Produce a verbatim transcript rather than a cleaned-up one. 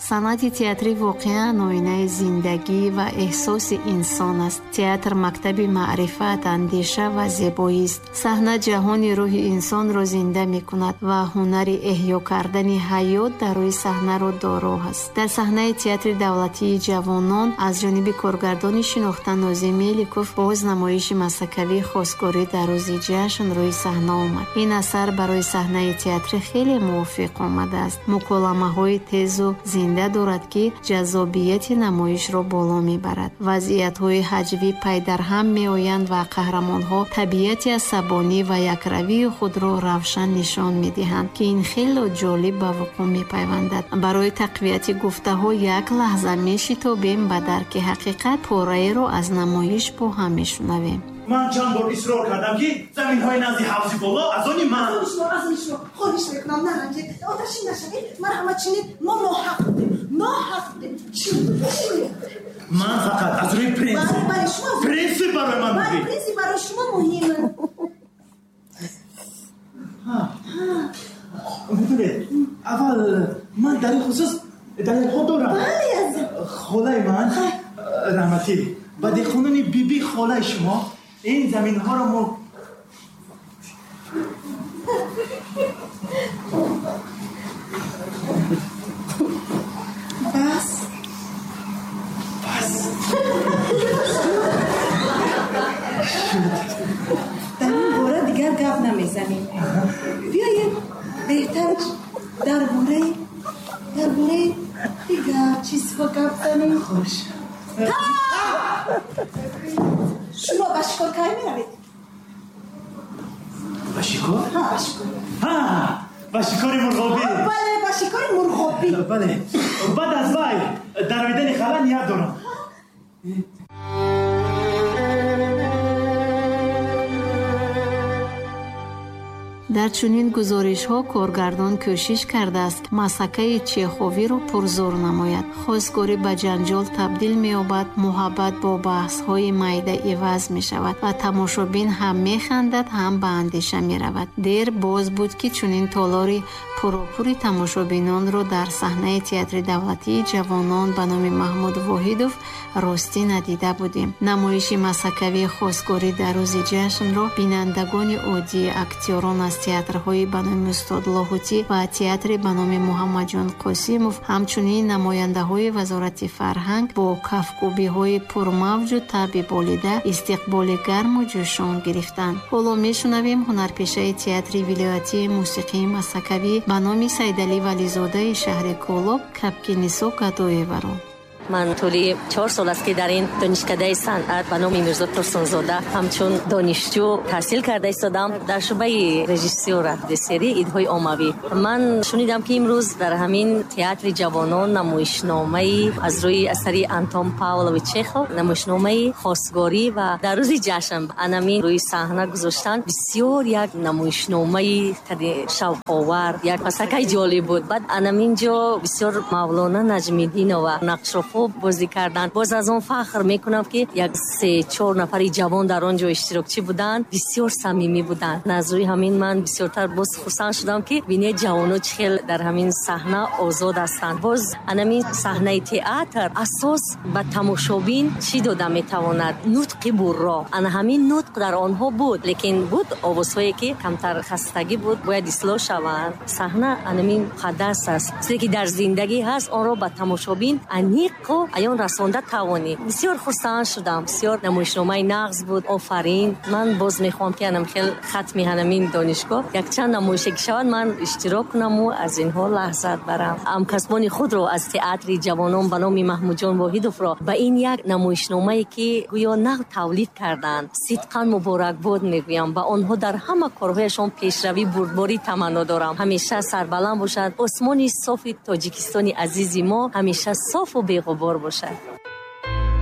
Санъати театрӣ воқеан оинаи зиндагӣ ва эҳсоси инсон аст. Театр мактаби маърифат, андеша ва зебоист. Саҳна ҷаҳони рӯҳи инсонро зинда мекунад ва ҳунари эҳё кардани ҳаёт дар рӯи саҳнаро доро аст. Дар саҳнаи театри давлатии ҷавонон аз ҷониби коргардони шинохта Нозим Меликов боз намоиши масакавии хосгорӣ дар рӯзи ҷашн рӯи саҳна омад. Ин асар барои саҳнаи театрӣ хеле мувофиқ омадааст. Муколамаҳои тезу зинда дорад, ки ҷаззобияти намоишро боло мебарад. Вазъиятҳои ҳаҷвӣ пайдарҳам меоянд ва қаҳрамонҳо табиати асабонӣ ва якравии худро равшан нишон медиҳанд, ки ин хело ҷолиб ба вуқӯъ мепайвандад. Барои тақвияти гуфтаҳо як лаҳза мешитобем ба дарки ҳақиқат, пораеро аз намоиш бо ҳам мешунавем. Ман чанд бор исрор кардам, ки заминҳои назди ҳавзи боло аз они ман. Аз шумо, аз шумо хоҳиш мекунам, наранҷед, оташин нашавед. Марҳамат чинед, мо ноҳақ будем, ноҳақ будем. Чӣ чӣ? Ман фақат аз рӯи принсип. Бале, бале, шумо принсип барои ман бале, муҳим. Принсип барои шумо муҳим. Медонед, аввал ман дар ин хусус далелҳо дорам. Бале, аз холаи ман раҳматӣ ба деҳқонони биби холаи шумо ин заминҳоро мо бас бас дар ин бора дигар гап намезанем. Биёед беҳтараш дар бораи дар бораи дигар чизҳо гап занем. Хуш. Шумо ба шикор кай меравед? Ба шикор? Ҳа, ба шикор. Ҳа, ба шикори мурғобӣ. Бале, ба шикори мурғобӣ. Бале, баъд аз вай даровидани хала ният дорам. Дар чунин гузоришҳо коргардон кӯшиш кардааст масакаи чеховиро пурзур намояд. Хосгорӣ ба ҷанҷол табдил меёбад, муҳаббат бо баҳсҳои майда иваз мешавад ва тамошобин ҳам механдад, ҳам ба андеша меравад. Дер боз буд, ки чунин толори пуропури тамошобинонро дар саҳнаи театри давлатии ҷавонон ба номи Маҳмуд Воҳидов ростӣ надида будем. Намоиши масакавии хосгорӣ дар рӯзи ҷашнро бинандагони оддӣ, актёрон аз театрҳои ба номи устод Лоҳутӣ ва театри ба номи Муҳаммадҷон Қосимов, ҳамчунин намояндаҳои вазорати фарҳанг бо кафкӯбиҳои пурмавҷу таби болида истиқболи гарму ҷӯшон гирифтанд. Ҳоло мешунавем ҳунарпешаи театри вилоятии мусиқии масакавӣ ба номи Сайдалӣ Вализодаи шаҳри Кӯлоб Кабкинисо Гадоеваро. Ман тӯли чор сол аст, ки дар ин донишкадаи санъат ба номи Мирзо Турсунзода ҳамчун донишҷӯ таҳсил карда истодам дар шӯъбаи режиссёра серии идҳои оммавӣ. Ман шунидам, ки имрӯз дар ҳамин театри ҷавонон намоишномаи аз рӯи асари Антон Павлович Чехов, намоишномаи хосгорӣ ва дар рӯзи ҷашн анамин рӯи саҳна гузоштан. Бисёр як намоишномаи шавқовар, як масакаи ҷолиб буд. Баъд анамин ҷо бисёр Мавлона Наҷмиддинова нақшро хуб бозӣ карданд. Боз аз он фахр мекунам, ки як се чор нафари ҷавон дар он ҷо иштирокчӣ буданд, бисёр самимӣ буданд. Аз рӯи ҳамин ман бисёртар боз хурсанд шудам, ки бинед ҷавоно чӣ хел дар ҳамин саҳна озод ҳастанд. Боз анамин саҳнаи театр асос ба тамошобин чӣ дода метавонад? Нутқи бурро. Ана ҳамин нутқ дар онҳо буд, лекин буд овозҳое, ки камтар хастагӣ буд, бояд ислоҳ шаванд. Саҳна анамин муқаддас аст. Чизе ки дар зиндагӣ ҳаст, онро ба тамошобин аниқ аён расонда тавонӣ. Бисёр хурсанд шудам, бисёр намоишномаи нағз буд. Офарин. Ман боз мехоҳам, ки анам хел хатми ҳанамин донишгоҳ якчанд намоише ки шавад, ман иштирок кунаму аз инҳо лаҳзат барам. Ҳамкасбони худро аз театри ҷавонон ба номи Маҳмудҷон Воҳидовро ба ин як намоишномае, ки гӯё нағд тавлид карданд, сидқан муборакбод мегӯям. Ба онҳо дар ҳама корҳояшон пешравӣ, бурдборӣ таманно дорам. Ҳамеша сарбаланд бошанд. Осмони софи Тоҷикистони азизи мо ҳамеша софу беғубор бошад.